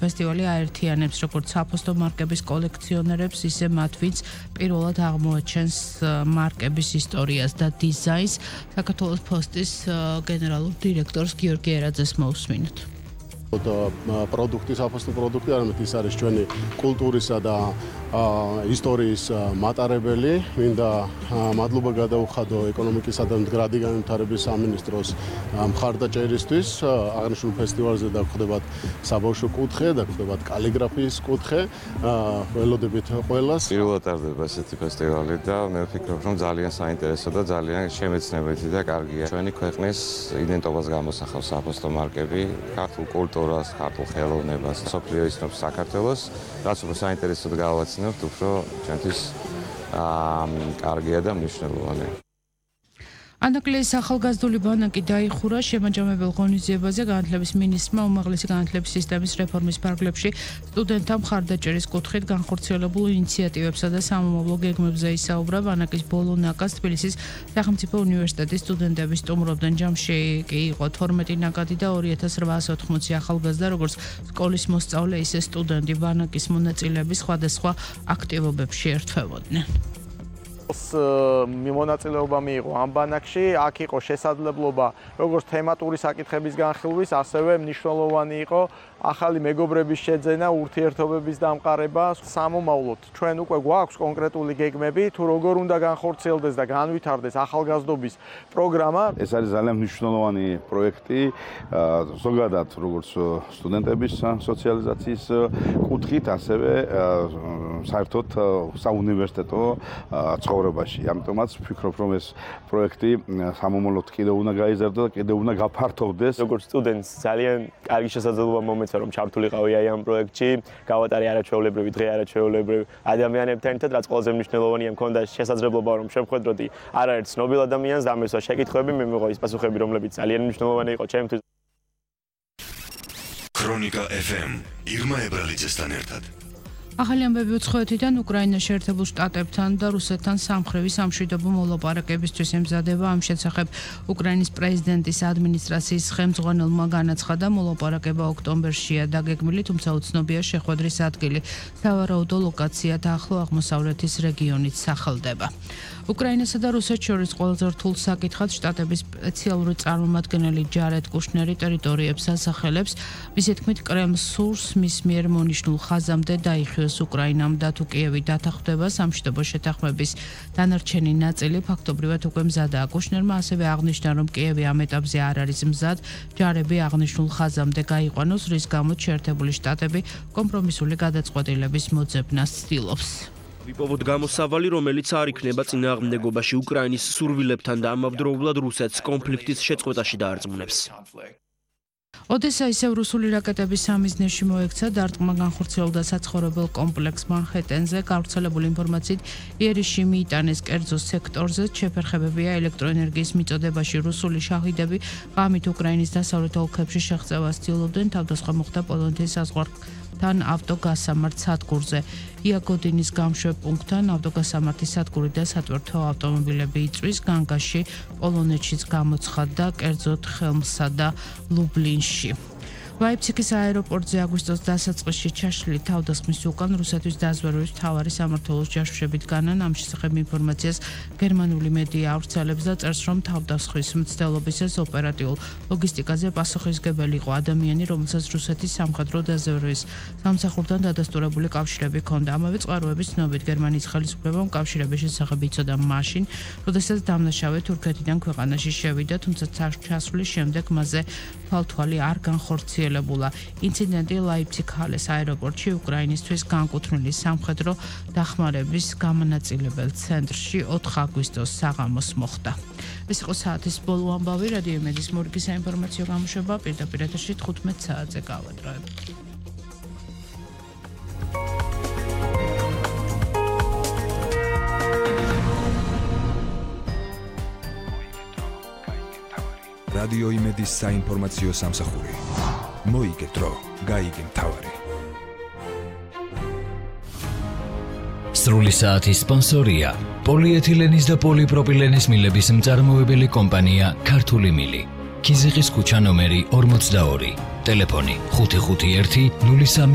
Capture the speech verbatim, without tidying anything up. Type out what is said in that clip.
ფესტივალი აერთიანებს როგორც საფოსტო მარკების კოლექციონერებს, ისე მათ, ვინც პირველად აღმოაჩენს მარკების ისტორიას და დიზაინს. საქართველოს პოსტის გენერალურ დირექტორს გიორგი ერაძეს მოусმინოთ. პროდუქტი, საფოსტო პროდუქტი, არამედ ის არის ჩვენი კულტურისა და ისტორიის მატარებელი. მინდა მადლობა გადაუხადო ეკონომიკისა და მდგრადი განვითარების სამინისტროს მხარდაჭერისთვის. აღნიშნულ ფესტივალზე დაგხვდებათ საბავშვო კუთხე, დაგხვდებათ კალიგრაფიის კუთხე. ველოდებით ყველას. პირველად ტარდება ესეთი ფესტივალი და მე ვფიქრობ, რომ ძალიან საინტერესო და ძალიან შემეცნებითი და კარგია. ჩვენი ქვეყნის იდენტობას გამოსახავს საფოსტო მარკები, ქართულ კულტურას, ქართულ ხელოვნებას, სოფლიო ისნობს საქართველოს, რაც უფრო საინტერესოდ გავაცნობთ, უფრო ჩვენთვის კარგია და მნიშვნელოვანია. ანაკლიის ახალგაზრდული ბანაკი დაიხურა შემაჯამებელ ღონისძიებაზე განათლების მინისტრმა უმაღლესი განათლების სისტემის რეფორმის ფარგლებში სტუდენტთა მხარდაჭერის კუთხით განხორციელებულ ინიციატივებსა და სამომავლო გეგმებზე ისაუბრა. ბანაკის ბოლო ნაკადს თბილისის სახელმწიფო უნივერსიტეტის სტუდენტები სტუმრობდნენ. ჯამში კი იყო თორმეტი ნაკადი და ორი ათას რვაასი ოთხმოცი ახალგაზრდა, როგორც სკოლის მოსწავლე, ისე სტუდენტი ბანაკის მონაწილეები სხვადასხვა აქტივობებში ერთვებოდნენ. მონაწილეობა მიიღო ამ ბანაკში, აქ იყო შესაძლებლობა როგორც თემატური საკითხების განხილვის, ასევე მნიშვნელოვანი იყო ახალი მეგობრების შეძენა, ურთიერთობების დამყარება. სამომავლოდ ჩვენ უკვე გვაქვს კონკრეტული გეგმები, თუ როგორ უნდა განხორციელდეს და განვითარდეს ახალგაზრდობის პროგრამა. ეს არის ძალიან მნიშვნელოვანი პროექტი, ზოგადად როგორც სტუდენტების სოციალიზაციის კუთხით, ასევე საერთოდ საუნივერსიტეტო ცხოვრებაში. ამიტომაც ვფიქრობ, რომ ეს პროექტი სამომავლოდ კიდევ უნდა გაიზარდოს და კიდევ უნდა გაფართოვდეს. როგორც სტუდენტს ძალიან კარგი შესაძლებლობა მომეცა, რომ ჩართულიყავი აი ამ პროექტში, გავატარე არაჩვეულებრივი დღე არაჩვეულებრივ ადამიანებთან ერთად, რაც ყველაზე მნიშვნელოვანია, მქონდა შესაძლებლობა, რომ შემხვედროდი არაერთ ცნობილ ადამიანს და ამისვა შეკითხვები, მე მიღო ის პასუხები, რომლებიც ძალიან მნიშვნელოვანი იყო ჩემთვის. ქრონიკა ეფ ემ ირმა ებრალიძესთან ერთად. ახალი ამბები უცხოეთიდან უკრაინაში ერთებულ შტატებთან და რუსეთთან სამხრივი სამშვიდობო მოლაპარაკებისთვის ემზადება. ამ შესახებ უკრაინის პრეზიდენტის ადმინისტრაციის ხელმძღვანელმა განაცხადა, მოლაპარაკება ოქტომბერშია დაგეგმილი, თუმცა უცნობია შეხვედრის ადგილი. სავარაუდო ლოკაცია და ახლო აღმოსავლეთის რეგიონით სახელდება. უკრაინასა და რუსეთს შორის ყველაზე რთულ საკითხად შტატების სპეციალური წარმომადგენელი ჯარედ კუშნერი ტერიტორიებს ასახელებს. მისი თქმით, კრემლს სურს მის მიერ მონიშნულ ხაზამდე დაიხიოს უკრაინამ და თუ კიევი დათანხმდება სამშვიდობო შეთანხმების დანარჩენი ნაწილი ფაქტობრივად უკვე მზადაა. კუშნერმა ასევე აღნიშნა, რომ კიევი ამ ეტაპზე არ არის მზად ჯარები აღნიშნულ ხაზამდე გაიყვანოს, რის გამოც შეერთებული შტატები კომპრომისული გადაწყვეტილების მოძებნას ცდილობს. ვიპოვოთ გამოსავალი, რომელიც არ იქნება წინააღმდეგობაში უკრაინის სურვილებთან და ამავდროულად რუსეთს კონფლიქტის შეწყვეტაში დაარწმუნებს. ოდესა ისევ რუსული რაკეტების სამიზნეში მოექცა, დარტყმა განხორციელდა საცხოვრებელ კომპლექს მანჰეტენზე. გავრცელებული ინფორმაციით, იერიშში მიიტანეს კერძო სექტორზე, შეფერხებებია ელექტროენერგიის მიწოდებაში რუსული შაჰიდები ღამით უკრაინის დასავლეთ ოლქებში შეღწევას ცდილობდნენ. თავდასხმა მოხდა პოლონეთის საზღვართან ავტოგასამართ სადგურზე. იაგოდინის გამშვებ პუნქტთან ავტოგასამართის სადგური და სატვირთო ავტომობილები იწვის. განგაში პოლონეთშიც გამოცხადდა, კერძოდ ხელმსა და ლუბლინში. ლაიფციგის აეროპორტზე აგვისტოს დასაწყისში ჩაშლილი თავდასხმის უკან რუსეთის დაზვერვის მთავარი სამმართველოს ჯაშუშები დგანან. ამ შესახებ ინფორმაციას გერმანული მედია ავრცელებს და წერს, რომ თავდასხმის მცდელობისას ოპერატიულ ლოგისტიკაზე პასუხისმგებელი იყო ადამიანი, რომელსაც რუსეთის სამხედრო დაზვერვის სამსახურთან დადასტურებული კავშირები ჰქონდა. ამავე წყაროების ცნობით, გერმანიის ხელისუფლებამ კავშირების შესახებ იცოდა მაშინ, როდესაც დამნაშავე თურქეთიდან ქვეყანაში შევიდა, თუმცა ჩასვლის შემდეგ მასზე თვალთვალი არ განხორციელებულა. ინციდენტი ლაიფციგ-ჰალეს აეროპორტში უკრაინისთვის განკუთვნილი სამხედრო დახმარების გამონაწილებელ ცენტრში ოთხ აგვისტოს საღამოს მოხდა. ეს იყო საათის ბოლო ამბავი. რადიო იმედის მორგის საინფორმაციო გამოშვება პირდაპირ ეთერში თხუთმეტ საათზე გავადროებთ. რადიო იმედის საინფორმაციო სამსახური. მოიგეთ დრო, გაიგე მთავარი. სრული საათის სპონსორია პოლიეთილენის და პოლიპროპილენის მილების მწარმოებელი კომპანია ქართული მილი. ქიზიყის ქუჩა ნომერი ორმოცდაორი, ტელეფონი ხუთი ხუთი ერთი ნული სამი